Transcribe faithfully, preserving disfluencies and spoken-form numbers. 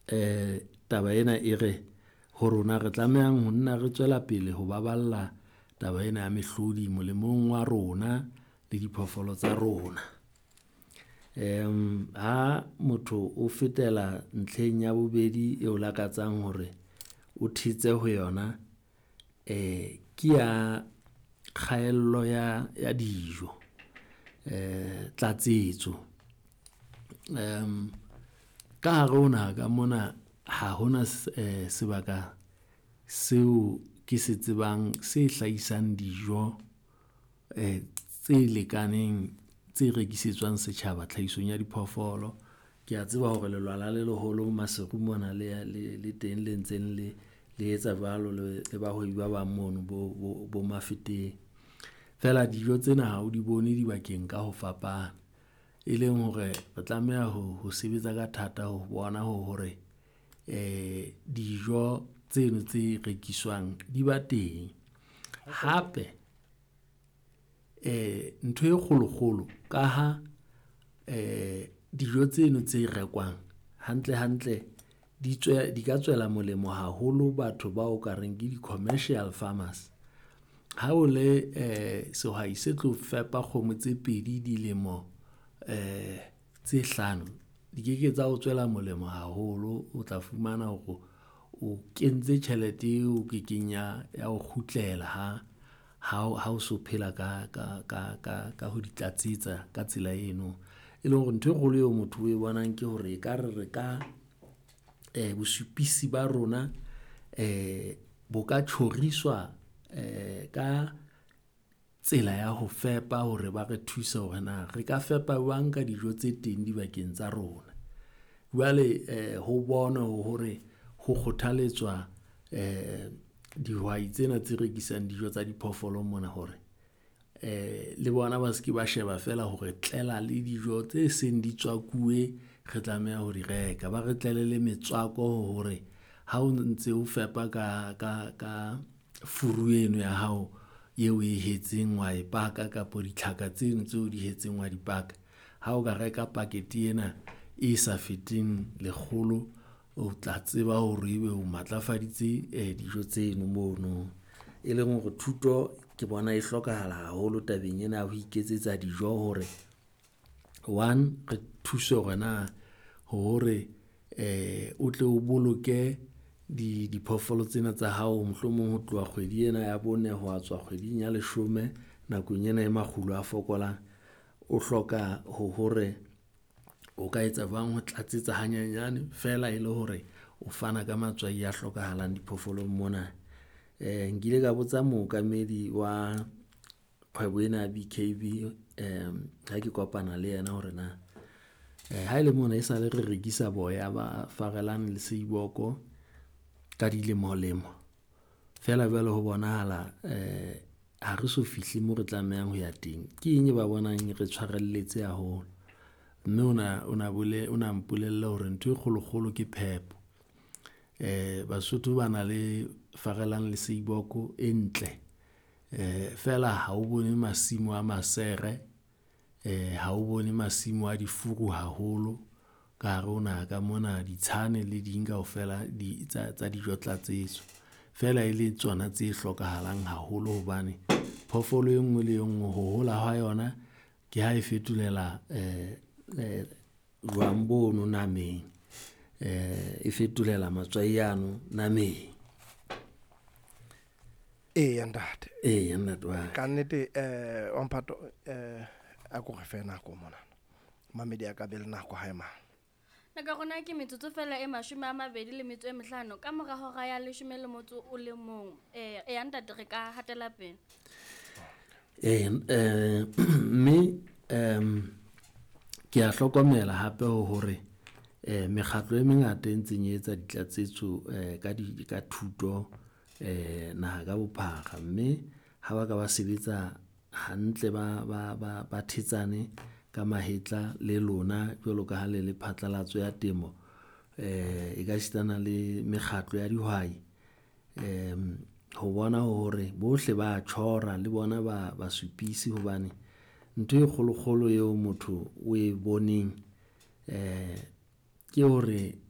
Eh taba ena e re ho rona re tlamehang ho nna re tswela pele ho baballa taba ena ya mehlodi molemong wa rona le diphoofolo tsa rona. Ha motho o fetela ntlheng ya bobedi eo lakatsang hore o thetse ho yona, ke ya kgaello ya ya dijo, tlatsetso. Ka hare ho naha ka mona, ha hona sebaka seo ke se tsebang se hlahisang dijo tse lekaneng, tse rekisetswang setjhaba tlhahisong ya diphoofolo. Ke a tseba hore lelwala le leholo Maseru mona le le le teng le ntseng le le etsa jwalo le bahwebi ba bang mono bo bo bo Mafeteng. Feela dijo tsena ha o di bone dibakeng ka ho fapana, e leng hore re tlameha ho ho sebetsa ka thata ho bona hore dijo tseno tse rekiswang di ba teng. Hape ntho e kgolokgolo ka ha dijo tseno tse rekwang hantle hantle di tswe, di ka tswela molemo haholo batho bao ka reng ke di-commercial farmers. Ha o le sehwai se tlo fepa kgomo tse pedi dilemo tse hlano, di keke tsa o tswela molemo haholo, o tla fumana hore o kentse tjhelete eo kekeng ya ya o kgutlela ha ha ha o so phela ka ka ka ka ka ho di tlatsetsa ka tsela eno. E leng hore ntho e kgolo eo motho o e bonang ke hore ekare re ka bosupisi ba rona bo ka tjhoriswa ka tsela ya ho fepa hore ba re thuse hore na re ka fepa jwang ka dijo tse teng dibakeng tsa rona. Jwale ho bonwe hore ho kgothaletswa dihwai tsena tse rekisang dijo tsa diphoofolo mona hore le bona ba seke ba sheba feela hore tlela le dijo tse seng di tswakuwe, re tlameha ho di reka. Ba re tlele le metswako hore ha o ntse o fepa ka ka ka furu eno ya hao eo oe hetseng wa e paka kapo ditlhaka tseno tseo di hetseng wa di paka. Ha o ka reka pakete ena e sa feteng lekgolo, o tla tseba hore ebe o matlafaditse dijo tseno mono. E leng hore thuto ke bona e hlokahala haholo tabeng ena ya ho iketsetsa dijo hore, one, re thuse hore na hore o tle o boloke diphoofolo tsena tsa hao mohlomong ho tloha kgwedi ena ya bone ho wa tswa kgweding ya leshome nakong ena e makgulo a fokolang. O hloka ho hore o ka etsa jwang ho tlatsetsa hanyenyane feela e le hore o fana ka matswai a hlokahalang diphoofolong mona. Nkile ka botsa mookamedi wa kgwebo ena ya BKB ha ke kopana le yena hore na ha ele mona esale re rekisa boya ba farelang le seiboko ka dilemolemo, feela jwale ho bonahala ha re so fihle moo re tlamehang ho ya teng. Ke eng e ba bonang re tshwarelletse haholo? Mme ona ona ona mpolella hore ntho e kgolokgolo ke phepo. Basotho ba na le farelang le seiboko e ntle, feela ha o bone masimo a masere, ha o bone masimo a difuru haholo ka hare ho naha ka mona, ditshane le ding kaofela di tsa tsa dijo tlatsetso. Feela e le tsona tse hlokahalang haholo hobane phoofolo e nngwe le e nngwe ho hola ha yona ke ha e fetolela jwang bono nameng, e fetolela matswai ano nameng. Eya, ntate. Eya, ntate wa ka. Ka nnete eh wa mphato eh a ko re fe nako mona. Mamedi a ka be le nako hae mang. Nako ya rona ke metsotso fela e mashome a mabedi le metso e mehlano ka mora hora ya leshome le motso o le mong. Eh eya ntate re ka hatela pele. Eh eh mme em ke a hlokomela hape hore eh mekgatlo e mengata e ntseng e etsa ditlatsetso eh ka di ka thuto eh naha ka bophara. Mme ha ba ka ba sebetsa hantle, ba ba ba ba thetsane ka mahetla le lona jwalo ka ha le le phatlalatso ya temo, eh e ka sitana le mekgatlo ya dihwai ho bona hore bohle ba tjhora le bona ba basupisi hobane ntho e kgolokgolo eo motho o e boneng ke hore